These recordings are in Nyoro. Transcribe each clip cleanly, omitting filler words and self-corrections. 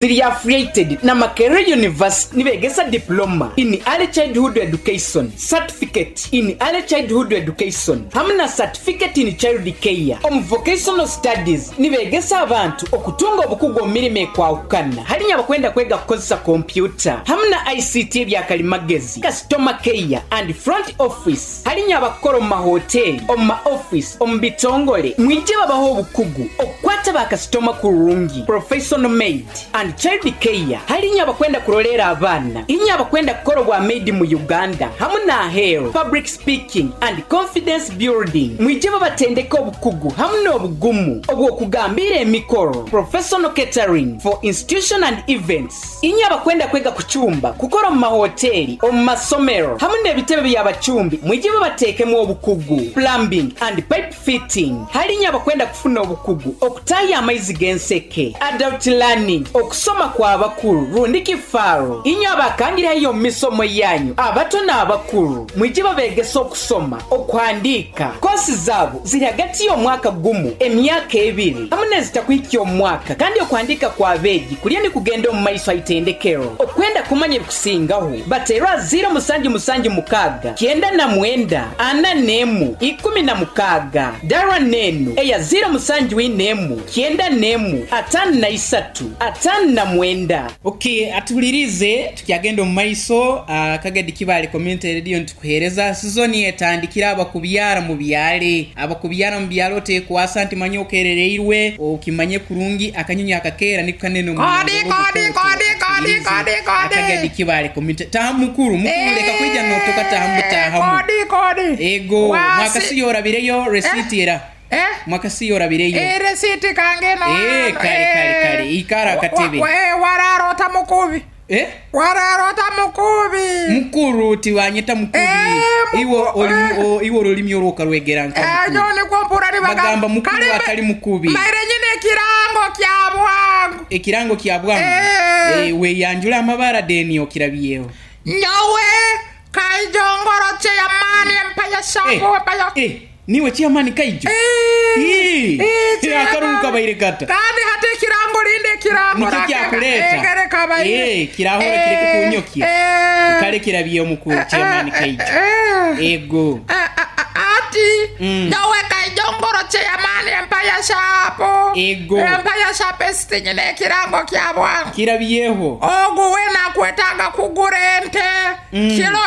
Ziri affiliated na Makerere University nibegesa Diploma in Early Childhood Education, Certificate in Early Childhood Education hamu na Certificate in Child Care. Omu Vocational Studies nibegesa abantu okutunga obukugu omu mirimo ekwahukana harinya abakwenda kwega kukozesa kompyuta hamu na ICT ebyakalimagezi, Customer Care and Front Office. Harinya abakukora omu mahoteeri, omu ma ofiisi, omu bitongore, mwije babahe obukugu okukwata ba kasitoma kurungi, professional maid and child care, harinya abakwenda kuroleera abaana, inywe abakwenda kukora obwa maid mu Uganda hamu n'aheeru, public speaking and confidence building, mwije babatendeke obukugu hamu n'obugumu obw'okugambiira emikoro, professional catering for institution and events. Inywe abakwenda kwega kucumba, kukora omu mahoteeri, omu masomero hamu n'ebitebe by'abacumbi mwije babateekemu obukugu, plumbing and pipe fitting. Hali inywe abakwenda kufuna obukugu okutaaha amaizi g'enseke, adult learning, okusoma kw'abakuru rundi kifaaro. Inywe abakangire haihi omu misomo yanyu, abato n'abakuru, mwije babeegese okusoma, okuhandiika. Koosi zaabo ziri hagati y'omwaka gumu, emyaka ebiri hamu n'ezitakuhikya omwaka kandi okuhandiika kw'abeegi Kuriyo nikugenda omu maiso ha itendekero. Okwenda kumanya ebikusingaho, bateerwe aha ziiro musanju musanju mukaaga 99 41 16. Dara n'enu eya ziiro musanju ina emu 91 53 59. Ok, atuhuliriize tukyagenda omu maiso. Kagadi Kibaale Community Radio nitukuheereza sizoni etandikire abakubyara mubyale. Abakubyara mubyale otekwasa nti manya okerereirwe okimanye kurungi akanyonyi akakeera niko kanene omu Kodi, muringo kodi, gw'obukooko kodi, kodi, atuhulirize kodi, kodi. Akagadi Kibaale Community Taha mukuru mukuru leka kwija Eh, notoka tahamu butahamu kodi, kodi. Ego Wasi. mwakasiyo orabireyo Eh, receipt era eh. mwakasiyo orabireyo Eh, receipt kange no Eh, hano. kale kale Eh, kale ikara wa, wa, akatebe wa, eh, wararota mukubi. Eh? Wararota mukubi. Mukuru tibanyeta mukubi. Eh, Iwe muku, oli eh. o, iwe olulimi olwo okarwegera nka Eh, mukuru. nyowe nikwo mpura nibagamba. Bagamba mukuru Kale mbe, atali mukubi. mbaire nyine ekirango kya bwangu. Ekirango kya bwangu? Eh. Eh, weyanjule amabara deni okirabyeho. Nyowe Kaijongoro Chairman Empire Eh, Shop Empire. eh, niwe Chairman Kaijo? Eh, Ii, eh, akaruru Chairman. kabaire kata. Kandi hati ekirango rindi ekirango Nikyo rakeka. kyakuleeta. Eh, kare kabaire. Eh, kirahora kireke Eh, kunyokia. eh. Kale kirabye omukuru Eh, Chairman eh, Kaijo. eh. Ego. Eh, eh, ati nyowe Kaijongoro Chairman Empire Shop. Ego. Empire Shop esiti nyine ekirango kya bwangu. Kirabyeho. Ogu wena akwetaaga kugura ente kilo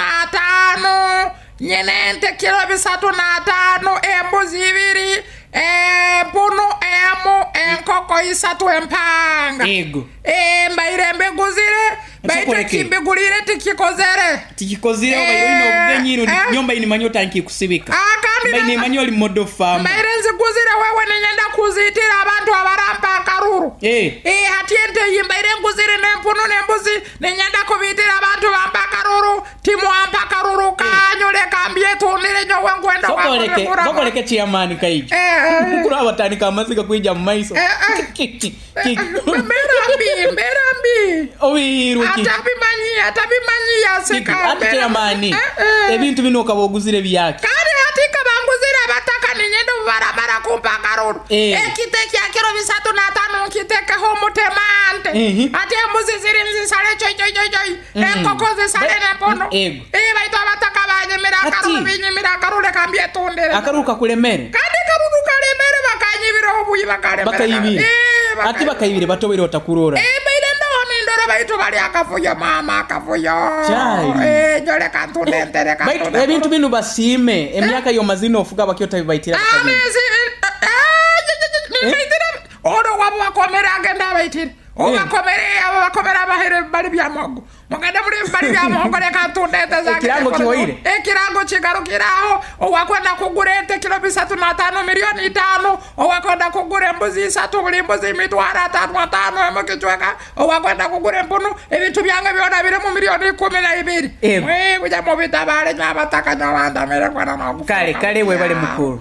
305, nyine ente kilo 305, embuzi ibiri, empunu emu, enkoko isatu empanga. Ego. Eh, mbaire mbiguzire, baitu Nsokoreke. ekimbigulire tikikozere. Tikikozire obaire oine Eh, obugenyi rundi eh. nyowe mbaire nimanya otandikire kusibika. Ah, kandi Mbaire na- nimanya oli model farmer. Mbaire nziguzire wewe ninyenda kuziitira abantu abarampa akaruru. Eh. Eh, hati ente eyi mbaire nguzire n'empunu n'embuzi ninyenda kubiitira abantu bampa akaruru. Timwampa akaruru kanyu leka mbyetundire nyowe nkwenda Sokoleke, kwakubigura. sokoleke chairman Kaija. Eh, eh. Mukuru abatandika amaziga kwija mu maiso. Eh, eh. Ki, ki, ki. Mbeera mbi, mbeera mbi. Obihiirwe ki? Atabimanyi, atabimanyi yaseka. Kiki, ati Mbeera chairman, Eh, eh. ebintu bino okaba oguzire byaki? Kandi hati nkaba nguzire abataka ninyenda obubaramara kumpa akaruru. Eh. Ekite kya kiro 35 nkitekeho omutemante. Ati embuzi ziri nzisale choi choi choi choi. Enkoko zisale n'empunu. Ego. Eh, baitu abataka banyimira akaruru, Ati. binyimira akaruru leka mbyetundire. Akaruru kakulemere? Kandi akaruru kalemere bakanyibira obuyi bakalemere. Bakaibire. Eh, Ati bakaibire batobaire otakurora. Eh, mbaire ndaho nindora baitu bali akavuyo mama akavuyo. Kyali. Eh, nyo leka ntunde ente leka Baitu ntunde. ebintu binu basiime emyaka y'omazina ofuga bakyo tabibaitira bakabiri. Amezi nibaitira ono wabo bakomere agenda abaitire. Obakomere abo bakomere abahere bali bya muhogo. Mugende muri bali bya muhogo leka ntunde ente zange. Ekirango kihoire. Ekirango kigarukiraho owakwenda kugura ente kilo 305 milioni 5, owakwenda kugura embuzi 3 buli mbuzi emitwaro atano atano emu kichweka, owakwenda kugura empunu ebintu byange byona biri mu milioni 12. Ego. Mwe kuja mubitabale nyo abataka nyo bandamire kwena nokufuka. Kale kale webale mukuru.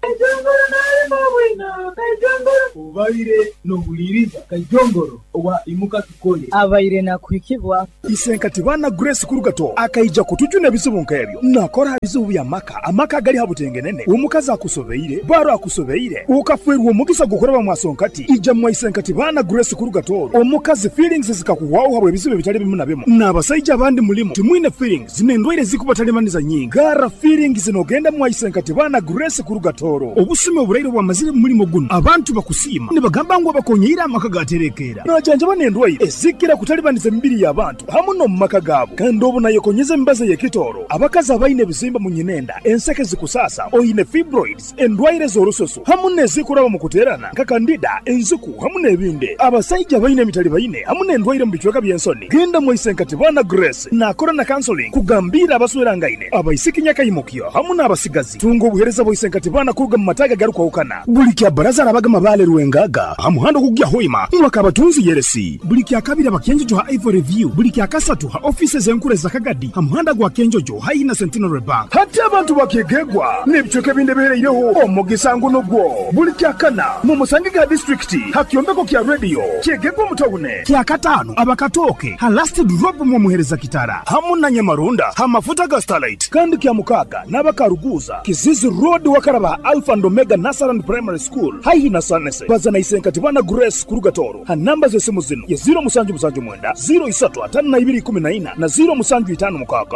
Kaijongoro nalima bwino, Kaijongoro. Obaire n'ohuliiriza Kaijongoro owa Imuka Tukole. Abaire nakuhikibwa. Isenkati baana Grace Kurugato akaija kutujuna ebizibu nk'ebyo. Nakora aha bizibu by'amaka, amaka agali ha butengenene, omukazi akusobeire, baro akusobeire, okafeerwa omugisa gw'okuraba mwasonkati, ija mwa Isenkati baana Grace Kurugato, omukazi feelings zikakuhwaho habw'ebizibu ebitali bimu na bimu. N'abasaija abandi mulimu timwine feelings n'endwaire ezikubatalibaniza nyingi. Garra feelings n'ogenda mwa Isenkati baana Grace Kurugatoro. Obusumi oburaire obwamazire mu mulimo gunu, abantu bakusiima nibagamba ngu abakonyeire amaka gaterekeera. Najanjaba n'endwaire ezikira kutalibaniza emibiri y'abantu hamu n'omu maka gaabo. Kandi obu nayekonyeza emibazi ey'ekitooro, abakazi abaine ebizimba mu nyinenda, enseke zikusaasa, oine fibroids, endwaire z'orususu hamu n'ezikuraba mu kuteerana nka kandida, enziku hamu n'ebindi. Abasaija abaine emitalibaine hamu n'endwaire mu bicweka by'ensoni, genda mwa Isenkatibana Grace naakora na counseling kugambiira abaswerangaine, abaisiki nyakaimukyo hamu n'abasigazi. Tunga obuheereza bwa Isenkatibana kuruga mu mataagi agarukwahukana. Buli kya Baraza arabaga Mabaale Rwengaga ha muhanda ogukugya Hoima mwaka Abatunzi Yeresi. Buli kya Kabiri aba Kyenjojo ha Ivory View. Buli kya Kasatu ha ofiisi ez'enkuru eza Kagadi ha muhanda gwa Kyenjojo haihi na Centenary Bank. Hati abantu ba Kyegegwa n'ebicweka ebindi ebihereireho omugisa ngu nugwo. Buli Kyakana mumusangege ha disiturikiti ha kyombeko kya rediyo Kyegegwa omu tawuni. Kyakataano aba Katooke ha Last Drop mwomuhereza Kitara hamu na Nyamarunda ha mafuta ga Starlight. Kandi Kyamukaaga n'aba Karuguuza, Kizizi Road wakaraba ha Alpha and Omega Nursery and Primary School haihi na Sanese. Baza na Isenkatibana Grace kuruga Tooro ha namba z'esimu zinu ye 0779 03 52 14 na 0756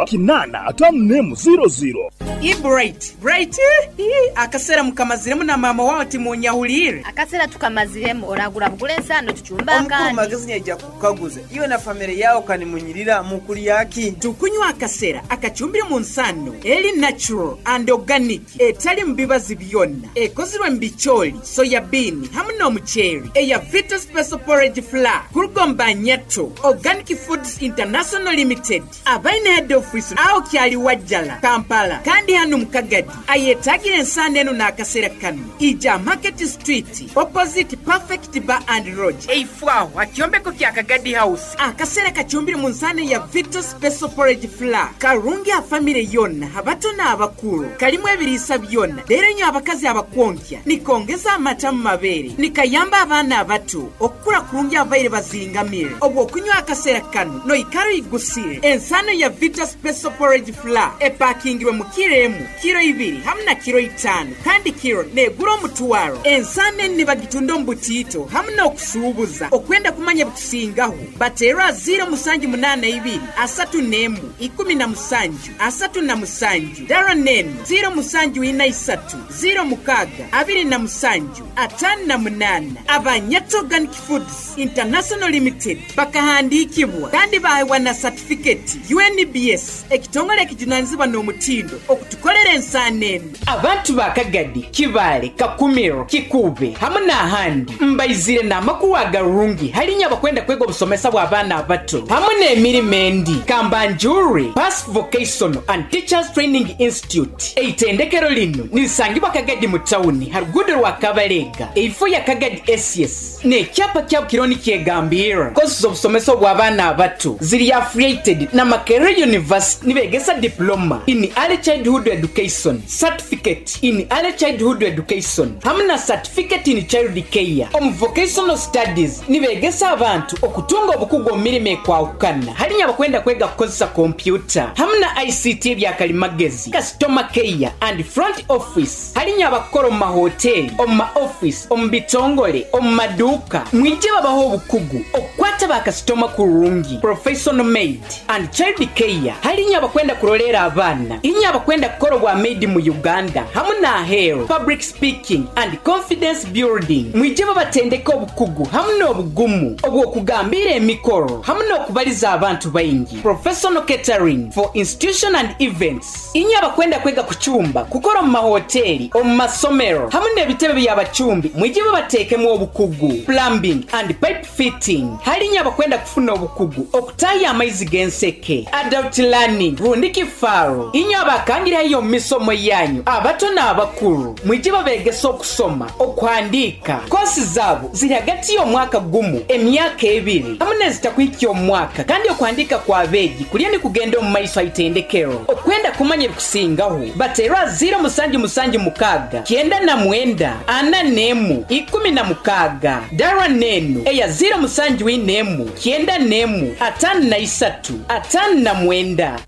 8 51 00. Ii Bright, Bright ii akasera mukamaziremu na maama wawe timunyahuliire. Akasera tukamaziremu oragura bugura ensaano tucumbe Omukuru akandi. Magezi naija kukukaguza iwe na famire yawe kanimunyirira mukulya ki? Tukunywa akasera akacumbire mu nsaano eri natural and organic etali mu bibazi byonna ekozirwe mu bicooli, soya bean hamu n'omuceeri eya Vita Special Porridge Flour kuruga omu Banyato Organic Foods International Limited abaine head office aho Kyaliwajjala, Kampala kandi hanu mu Kagadi ayetagire ensaano enu n'akasera kanu ija Market Street opposite Perfect Bar and Lodge eifo aho ha kyombeko kya Kagadi House. Akasera kacumbire mu nsaano ya Vita Special Porridge Flour karungi ha famire yona abato n'abakuru kalimu ebiriisa byona leero nyo abakazi abakwonkya nikongeza amata mu mabeere nikayamba abaana abato okukura kurungi ababaire bazingamire. Obw'okunywa akasera kanu noikara oigusire. Ensaano ya Vita Special Porridge Flour epakingirwe mu kiro emu, kiro ibiri hamu na kiro itaano kandi kiro negura omutwaro. Ensaano enu nibagitunda omu butiito hamu n'okusuubuza. Okwenda kumanya ebikusingaho bateerwa 0782 31 17 37 Darren enu 0743 06 27 58. Abanyato Organic Foods International Limited bakahandiikibwa kandi baheebwa na satifiketi UNBS ekitongole ekijunanizibwa n'omutindo okutukolera ensaano enu. Abantu ba Kagadi, Kibaale, Kakumiro, Kikuube hamu n'ahandi mbaizire n'amakuru agarungi hali inywe abakwenda kwega obusomesa bw'abaana abato hamu n'emirimo endi. Kambanjure Pass Vocational and Teachers Training Institute. Eitendekero linu nirisangibwa Kagadi mu tawuni ha ruguudo rwa Kabalega eifo ya Kagadi SS n'ekyapa kyabo kiriho nikyegambirra. Kosi z'obusomesa obw'abaana abato ziri affiliated na Makerere University nibegesa Diploma in Early Childhood Education, Certificate in Early Childhood Education hamu na Certificate in Child Care. Omu Vocational Studies nibegesa abantu okutunga obukugu omu mirimo ekwahukana hali abakwenda kwega kukozesa kompyuta hamu na ICT ebyakalimagezi, Customer Care and Front Office hali abakukora omu mahoteri, omu ma office, omu bitongole, omu maduuka. Mwije babaho obukugu okukwata bakasitoma kurungi. Professional Maid and Child Care hali abakwenda kurolera abaana, inywe abakwenda kukora obwa maid mu Uganda hamu n'aheeru. Public Speaking and Confidence Building mwije babatendeka obukugu hamu n'obugumu obw'okugambira emikoro hamu n'okubaliza abantu baingi. Professional Catering for Institution and Events inywe abakwenda kwega kucumba, kukora omu mahoteri, omu masomero hamu n'ebitebe by'abacumbi mwije babateekemu obukugu. Plumbing and Pipe Fitting hali inywe abakwenda kufuna obukugu okutaaha amaizi g'enseke. Adult Learning rundi kifaaro inywe abakangire haihi omu misomo yanyu abato n'abakuru mwije babegesa okusoma, okuhandiika. Kosi zaabo ziri hagati y'omwaka gumu, emyaka ebiri hamu n'ezitakuhikya omu mwaka kandi okuhandiika kw'abeegi kuriyo nikugenda omu maiso ha itendekero. Okwenda kumanya Okumanya ebikusingaho bateerwa 0776 99 41 16 darwa nenu eya 071 91 53 59.